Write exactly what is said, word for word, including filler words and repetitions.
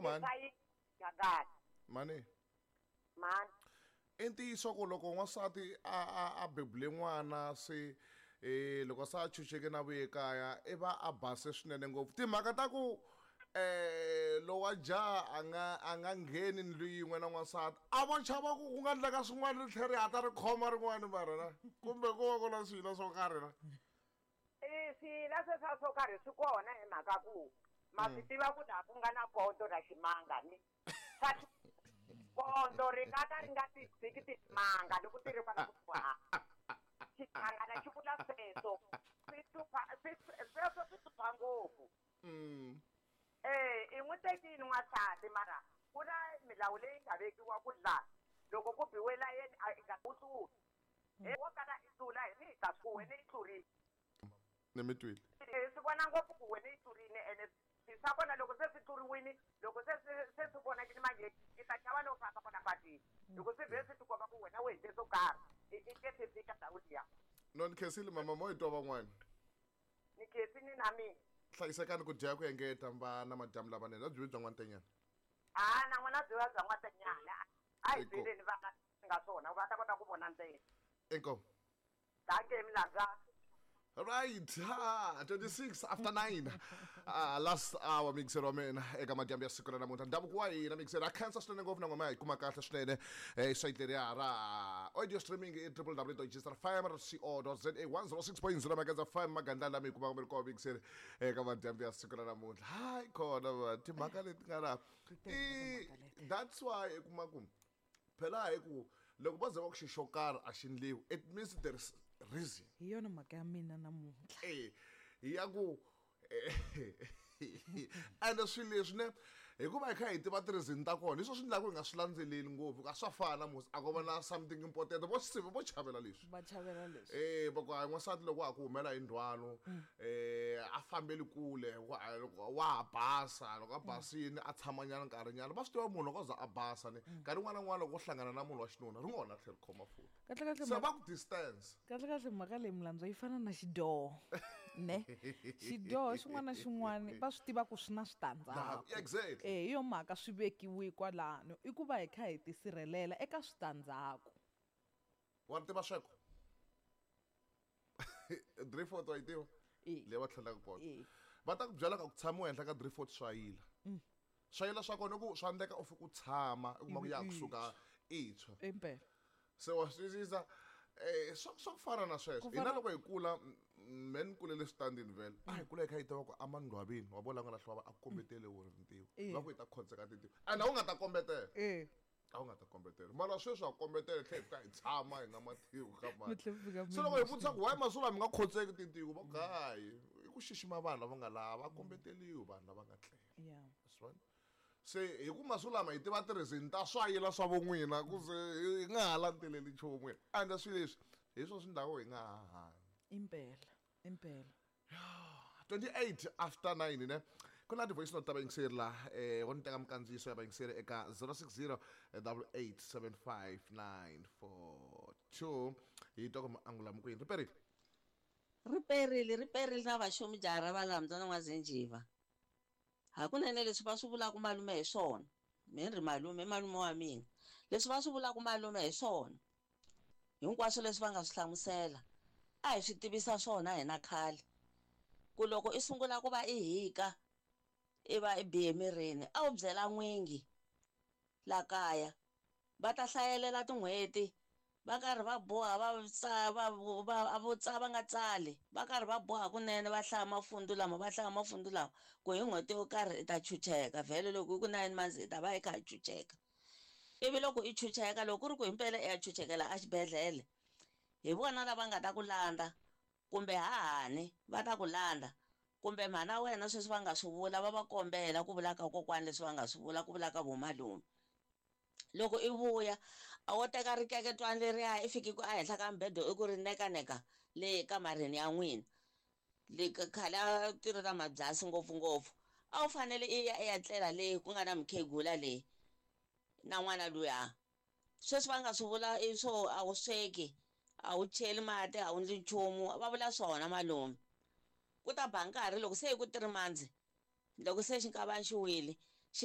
Ka mhani Gagani. Mani mani i ntiyiso ku loko n'wansati a a a bebule n'wana se eh loko sa a chucheke na vuye kaya i va a base swinene ngopfu timhaka ta ku eh lowa jaha a nga a nga ngheni ndlu yin'we na n'wansati a vo chava ku ku nga endleka swin'wana ri tlhela ri hatla ri khoma rin'wana mara na kumbe ku va ku na swilo swo karhi na i swila sweswa swo karhi swi kona hi mhaka ku ma swi tiva ku laha ku nga na ponto na ximanga ni swa ponto ri nga ka ri nga ti tshiki timanga loko ti ri kwala kusuhani xichangana xi vula sweswo swi hlupha swi sweswo swi hlupha ngopfu mm eh i n'wi tekile n'wansati mara ku na milawu leyi nga vekiwa ku la loko ku biwe layeni a i nga wu tluli he wo kala i tlula hi ni hi ta ku wena i tlurile ni mi twile Eh, swi vona ngopfu ku wena i tlurile ene swi swa kona loko se swi tluriwile loko se se se swi vonakile manje i ta chava no famba kona patwini loko swi vhe swi tikomba ku wena u endle swo karhi i i nge se fika ndhawu liya no ni khensile mama mo hi twa van'wana ni khensini na mina hlayisekani ku dya ku engeta mba na madyambu lamanene a byi vi bya n'wantenyana a na n'wina byi va bya n'wantenyana a hi Inkomu. byeleni va nga nga swona va ta kota ku vona ntsena inkomu danke milandza Right, ha, twenty-six after nine. Uh, last hour mixer wa mina eka madyambu ya siku ra namuntlha. Ndhavuko wa hina mixer a khensa swinene ngopfu na ngoma hi kuma kahle swinene eh site leriya ra audio streaming i w w w dot g f m dot co dot z a one zero six point zero Magandla F M magandla lama hi kumaka mi ri kona mixer eka madyambu ya siku ra namuntlha. Hayi kona va timhaka leti nga la. I that's why i kuma ku phela hi ku loko va ze va ku xi xo karhi a xi endliwi it means there is reason. Hi yona mhaka ya mina namuntlha. Eh ya ku ende swilo leswi ne hikuva hi kha hi tiva ti-reason ta kona hi swo swi endlaka hi nga swi landzeleli ngopfu a swa fana musi a ko va na something important vo sive vo chavela leswi va chavela leswi eh va ku hayi n'wansati loko wa ha ku humela hi ndzhwalo eh a fambeli kule wa wa ha basa loko a basini a tshamanyana nkarhinyana va swi tiva munhu loko a za a basa ni nkarhi wun'wana na wun'wana loko u hlangana na munhu wa xinuna ri ngo na tlhela ri khoma futi kahle kahle se va ku distance kahle kahle mhaka leyi milandzo yi fana na xidyoho ne xidyoho xin'wana na xin'wana va swi tiva ku swi na switandzhaku exactly eh hi yo mhaka swi vekiwe kwalano i ku va hi kha hi tisirhelela eka switandzhaku wa ri tiva sweko three fourth wa yi tiva Eh. leyi va tlhelaka kona Eh. va ta ku byela ka ku tshamiwa henhla ka three fourth swa yila swa yila swa kona i ku swa endleka u fika u tshama u kuma ku ya kusuka i tshwa impela se wa swi twisisa eh swa swa ku fana na sweswo Ku hina fana- loko hi kula m- me ni kulele switandini vhele a hi kula hi kha hi tiva ku amandwavini wa vona nga lahliwa va a ku kombetele wona tintiho Eh. va ku hi ta khonseka tintiho and a wu nga ta kombetela eh a wu nga ta kombetela mara sweswi a kombetela hi tlhela hi fika hi tshama hi nga matiwi ka Mi tlhe mi fika mani mi se loko hi vutisa ku why masiku lama mi nga khotseki tintiho va ku hayi i ku xixima vanhu lava nga laha va kombeteliwi vanhu lava nga tlela yeah Swi vona? Se hi ku masiku lama hi tiva ti-reason ta swa yila swa von'wina ku ze hi nga ha landzeleli nchumu ende swilo leswi hi swona swi ndhaku hi nga ha hanyi impela impela twenty-eight after nine ne ku na ti-voice note ta vayingiseri laha eh wo ni teka mikandziyiso ya vayingiseri eka zero six zero double eight seven five nine four two hi twa ku maangula mi kwini ri perile ri perile ri perile na vaxomi jaha ra valambyana n'wazinjiva hakunene leswi va swi vulaka malume hi swona mi ri malume i malume wa mina leswi va swi vulaka malume hi swona hinkwaswo leswi va nga swi hlamusela a hi swi tivisa swona hina khale ku loko i sungula ku va i hika i va i bihe mirini a wu byela n'wingi la kaya va ta hlayelela tin'hweti va karhi va boha va tsa va va va tsa va nga tsali va karhi va boha kunene va hlaya mafundu lama va hlaya mafundu lama ku hi n'hweti yo karhi i ta chucheka vhele loko i ku nine months i ta va i kha i chucheka ivi loko i chucheka loko ku ri ku himpela i ya chuchekela exibedhlele hi vona lava nga ta ku landza kumbe hahani va ta ku landza kumbe mhana wena sweswi va nga swi vula va va kombela ku vula ka kokwani leswi va nga swi vula ku vula ka vomalume loko i vuya a wo teka rikeketwana leriya i fiki ku ehenhla ka mbedo i ku ri nekaneka le kamareni ya n'wina le ka- khale a ti ri ta mabyasi ngopfungopfu a wu fanele i ya i ya tlela leyi ku nga na mukhegula leyi na n'wana luya sweswi va nga swi vula i swo a wu sweki a wu cheli mati a wu ndli nchumu va vula swona malume ku ta ba nkarhi loko se i ku three months loko se xinkavani xi wile